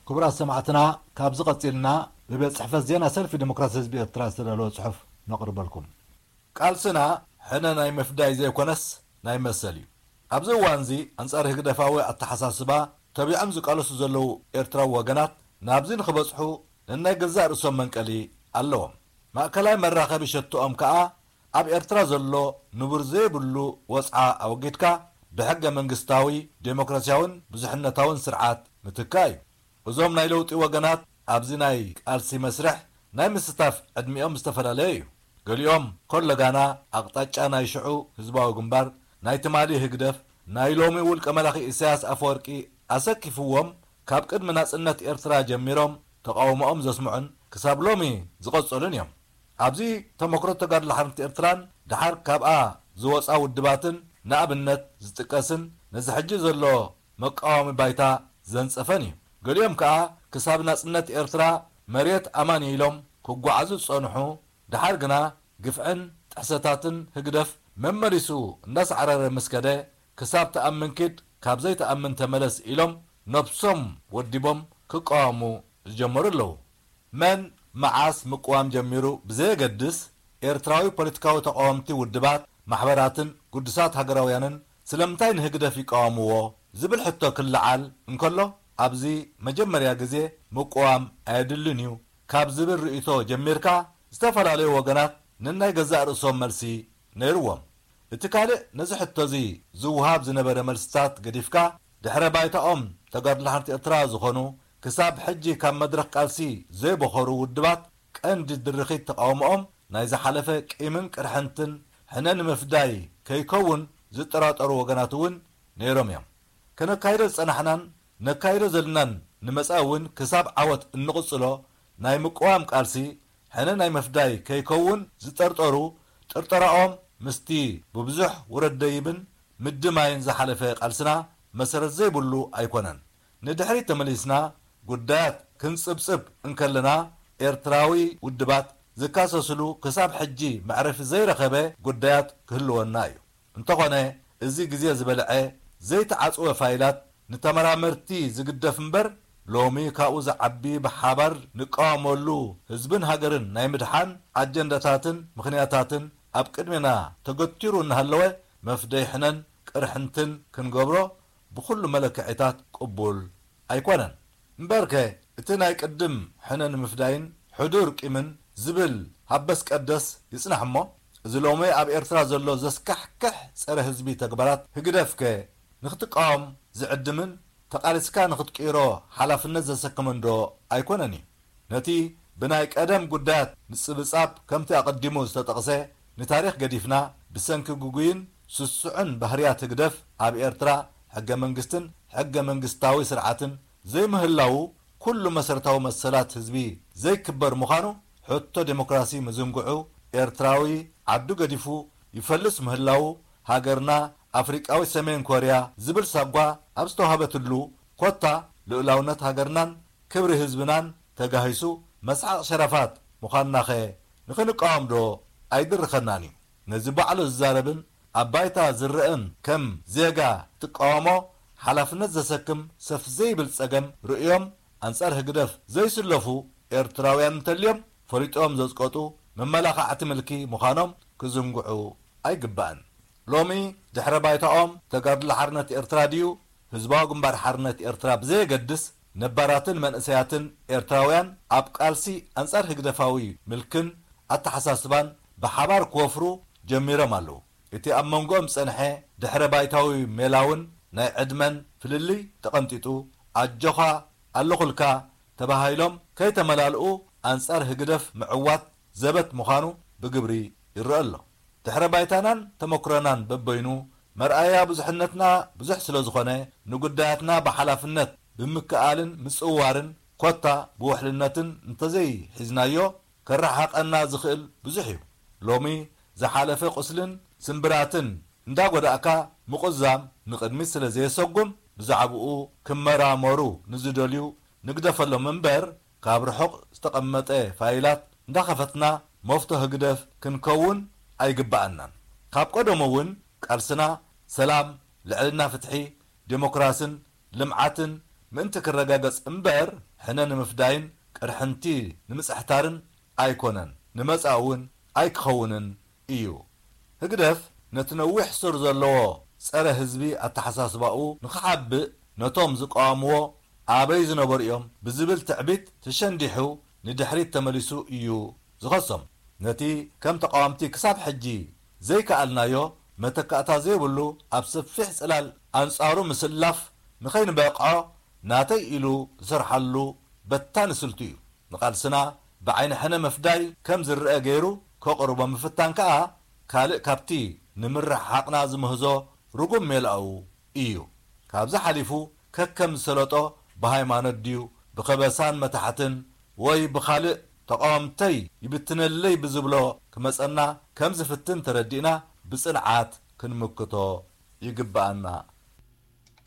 ክቡራት ሰማዕትና፣ ካብዚ ቀጺልና ብቤት ጽሕፈት ዜና ሰልፊ ዲሞክራሲ ህዝቢ ኤርትራ ዝተዳለወ ጽሑፍ ነቕርበልኩም። ቃልስና ሕነ ናይ ምፍዳይ ዘይኮነስ ናይ መሰል እዩ። ኣብዚ እዋንዚ ኣንጻር ህግደፋዊ ኣተሓሳስባ ተቢዖም ዝቃለሱ ዘለዉ ኤርትራዊ ወገናት ናብዚ ንኽበጽሑ ነናይ ገዛእ ርእሶም መንቀሊ ኣለዎም። ማእከላይ መራኸቢ ሸቶኦም ከኣ ኣብ ኤርትራ ዘሎ ንቡር ዘይብሉ ወጽዓ ኣወጊድካ ብሕገ መንግስታዊ፣ ዴሞክራሲያውን ብዙሕነታውን ስርዓት ምትካእ እዩ። እዞም ናይ ለውጢ ወገናት ኣብዚ ናይ ቃልሲ መስርሕ ናይ ምስታፍ ዕድሚኦም ዝተፈላለየ እዩ። ገሊኦም ኮለጋና ኣቕጣጫ ናይ ሽዑ ህዝባዊ ግንባር፣ ናይ ትማሊ ህግደፍ፣ ናይ ሎሚ ውልቀ መላኺ ኢሳያስ ኣፈወርቂ ኣሰኪፍዎም ካብ ቅድሚ ናጽነት ኤርትራ ጀሚሮም ተቓውሞኦም ዘስምዑን ክሳብ ሎሚ ዝቐጸሉን እዮም። ኣብዚ ተመክሮ ተጋድሎ ሓርነት ኤርትራን ደሓር ካብኣ ዝወጻ ውድባትን ንኣብነት ዝጥቀስን ነዚ ሕጂ ዘሎ መቃወሚ ባይታ ዘንጸፈን እዩ። ገሊኦም ከኣ ክሳብ ናጽነት ኤርትራ መሬት ኣማን ኢሎም ክጓዓዙ ዝጸንሑ፣ ደሓር ግና ግፍዕን ጥሕሰታትን ህግደፍ መመሊሱ እንዳሳዕረረ ምስ ከደ፣ ክሳብ ትኣምን ኪድ ካብ ዘይትኣምን ተመለስ ኢሎም ነብሶም ወዲቦም ክቃወሙ ዝጀመሩ ኣለዉ። መን መዓስ ምቅዋም ጀሚሩ ብዘየገድስ፣ ኤርትራዊ ፖለቲካዊ ተቃወምቲ ውድባት፣ ማሕበራትን ግዱሳት ሃገራውያንን ስለምንታይ ንህግደፍ ይቃወምዎ ዝብል ሕቶ ክለዓል እንከሎ፣ ኣብዚ መጀመርያ ግዜ ምቅዋም ኣየድልን እዩ ካብ ዝብል ርእይቶ ጀሚርካ፣ ዝተፈላለዩ ወገናት ነናይ ገዛእ ርእሶም መልሲ ነይርዎም። እቲ ካልእ ነዚ ሕቶዚ ዝወሃብ ዝነበረ መልስታት ገዲፍካ፣ ድሕረ ባይታኦም ተጋድሎ ሓርነት ኤርትራ ዝኾኑ፣ ክሳብ ሕጂ ካብ መድረኽ ቃልሲ ዘይቦኸሩ ውድባት ቀንዲ ድርኺት ተቓውሞኦም ናይ ዝሓለፈ ቂምን ቅርሕንትን ሕነ ንምፍዳይ ከይከውን ዝጠራጠሩ ወገናት እውን ነይሮም እዮም። ከነካይዶ ዝጸናሕናን ነካይዶ ዘለናን ንመጻኢ እውን ክሳብ ዓወት እንቕጽሎ ናይ ምቅዋም ቃልሲ ሕነ ናይ ምፍዳይ ከይከውን ዝጠርጠሩ፣ ጥርጠራኦም ምስቲ ብብዙሕ ውረድ ደይብን ምድማይን ዝሓለፈ ቃልስና መሰረት ዘይብሉ ኣይኮነን። ንድሕሪት ተመሊስና ጉዳያት ክንጽብጽብ እንከለና፣ ኤርትራዊ ውድባት ዝካሰስሉ ክሳብ ሕጂ መዕረፊ ዘይረኸበ ጉዳያት ክህልወና እዩ። እንተኾነ፣ እዚ ግዜ ዝበልዐ ዘይተዓጽወ ፋይላት ንተመራመርቲ ዝግደፍ እምበር፣ ሎሚ ካብኡ ዝዓቢ ብሓባር ንቃወመሉ ህዝብን ሃገርን ናይ ምድሓን ኣጀንዳታትን ምኽንያታትን ኣብ ቅድሜና ተገቲሩ እናሃለወ፣ መፍደይ ሕነን ቅርሕንትን ክንገብሮ ብኹሉ መለክዒታት ቅቡል ኣይኮነን። እምበርከ፣ እቲ ናይ ቅድም ሕነ ንምፍዳይን ሕዱር ቂምን ዝብል ሃበስ ቀደስ ይጽናሕ እሞ፣ እዚ ሎሚ ኣብ ኤርትራ ዘሎ ዘስካሕክሕ ጸረ ህዝቢ ተግባራት ህግደፍከ ንኽትቃወም ዝዕድምን ተቓሊስካ ንኽትቅይሮ ሓላፍነት ዘሰክምን ዶ ኣይኮነን እዩ? ነቲ ብናይ ቀደም ጉዳያት ምጽብጻብ ከምቲ ኣቐዲሙ ዝተጠቕሰ ንታሪኽ ገዲፍና፣ ብሰንኪ ግጉይን ስሱዕን ባህርያት ህግደፍ ኣብ ኤርትራ ሕገ መንግስትን ሕገ መንግስታዊ ስርዓትን ዘይምህላዉ፣ ኩሉ መሰረታዊ መሰላት ህዝቢ ዘይክበር ምዃኑ፣ ሕቶ ዴሞክራሲ ምዝንግዑ፣ ኤርትራዊ ዓዱ ገዲፉ ይፈልስ ምህላዉ፣ ሃገርና ኣፍሪቃዊ ሰሜን ኮርያ ዝብል ሳጓ ኣብ ዝተዋህበትሉ፣ ኮታ ልኡላውነት ሃገርናን ክብሪ ህዝብናን ተጋሂሱ መስሓቕ ሸረፋት ምዃንናኸ ንኽንቃወም ዶ ኣይድርኸናን እዩ? ነዚ ባዕሉ ዝዛረብን ኣብ ባይታ ዝረእን ከም ዜጋ ትቃወሞ ሓላፍነት ዘሰክም ሰፍ ዘይብል ጸገም ርእዮም ኣንጻር ህግደፍ ዘይስለፉ ኤርትራውያን እንተልዮም ፈሊጦም ዘጽቀጡ መመላኻዕቲ ምልኪ ምዃኖም ክዝንግዑ ኣይግባእን። ሎሚ ድሕረ ባይታኦም ተጋድሎ ሓርነት ኤርትራ ድዩ ህዝባዊ ግንባር ሓርነት ኤርትራ ብዘየገድስ ነባራትን መንእሰያትን ኤርትራውያን ኣብ ቃልሲ ኣንጻር ህግደፋዊ ምልክን ኣተሓሳስባን ብሓባር ክወፍሩ ጀሚሮም ኣለዉ። እቲ ኣብ መንጎኦም ዝጸንሐ ድሕረ ባይታዊ ሜላውን ናይ ዕድመን ፍልልይ ተቐንጢጡ፣ ኣጆኻ ኣለኹልካ ተባሂሎም ከይተመላልኡ ኣንጻር ህግደፍ ምዕዋት ዘበት ምዃኑ ብግብሪ ይረአ ኣሎ። ድሕረ ባይታናን ተመኩሮናን በበይኑ መርኣያ ብዙሕነትና ብዙሕ ስለ ዝኾነ፣ ንጉዳያትና ብሓላፍነት ብምክኣልን ምጽውዋርን ኮታ ብውሕልነትን እንተዘይሒዝናዮ፣ ከረሓቐና ዝኽእል ብዙሕ እዩ። ሎሚ ዝሓለፈ ቁስልን ስምብራትን እንዳጎዳእካ ምቑዛም ንቕድሚት ስለ ዘየሰጉም፣ ብዛዕብኡ ክመራመሩ ንዝደልዩ ንግደፈሎም እምበር፣ ካብ ርሑቕ ዝተቐመጠ ፋይላት እንዳኸፈትና መፍቶ ህግደፍ ክንከውን ኣይግበኣናን። ካብ ቀደሙ እውን ቃልስና ሰላም፣ ልዕልና ፍትሒ፣ ዴሞክራስን ልምዓትን ምእንቲ ክረጋገጽ እምበር፣ ሕነ ንምፍዳይን ቅርሕንቲ ንምጽሕታርን ኣይኮነን፣ ንመጻኢ እውን ኣይክኸውንን እዩ። ህግደፍ ነቲ ነዊሕ ሱር ዘለዎ ጸረ ህዝቢ ኣተሓሳስባኡ ንኽሓብእ፣ ነቶም ዝቃወምዎ ኣበይ ዝነበሩ እዮም ብዝብል ትዕቢት ተሸንዲሑ ንድሕሪት ተመሊሱ እዩ ዝኸሶም። ነቲ ከም ተቃወምቲ ክሳብ ሕጂ ዘይከኣልናዮ መተካእታ ዘይብሉ ኣብ ሰፊሕ ጽላል ኣንጻሩ ምስላፍ ንኸይንበቕዖ ናተይ ኢሉ ዝሰርሓሉ በታኒ ስልቱ እዩ። ንቓልስና ብዓይኒ ሕነ ምፍዳይ ከም ዝረአ ገይሩ ከቕርቦ ምፍታን ከኣ ካልእ ካብቲ ንምርሕሓቕና ዝምህዞ ርጉም ሜላኡ እዩ። ካብዚ ሓሊፉ ከከም ዝሰለጦ ብሃይማኖት ድዩ ብኸበሳን መታሕትን ወይ ብኻልእ ተቓወምተይ ይብትነለይ ብዝብሎ ክመጸና ከም ዝፍትን ተረዲእና ብጽንዓት ክንምክቶ ይግብኣና።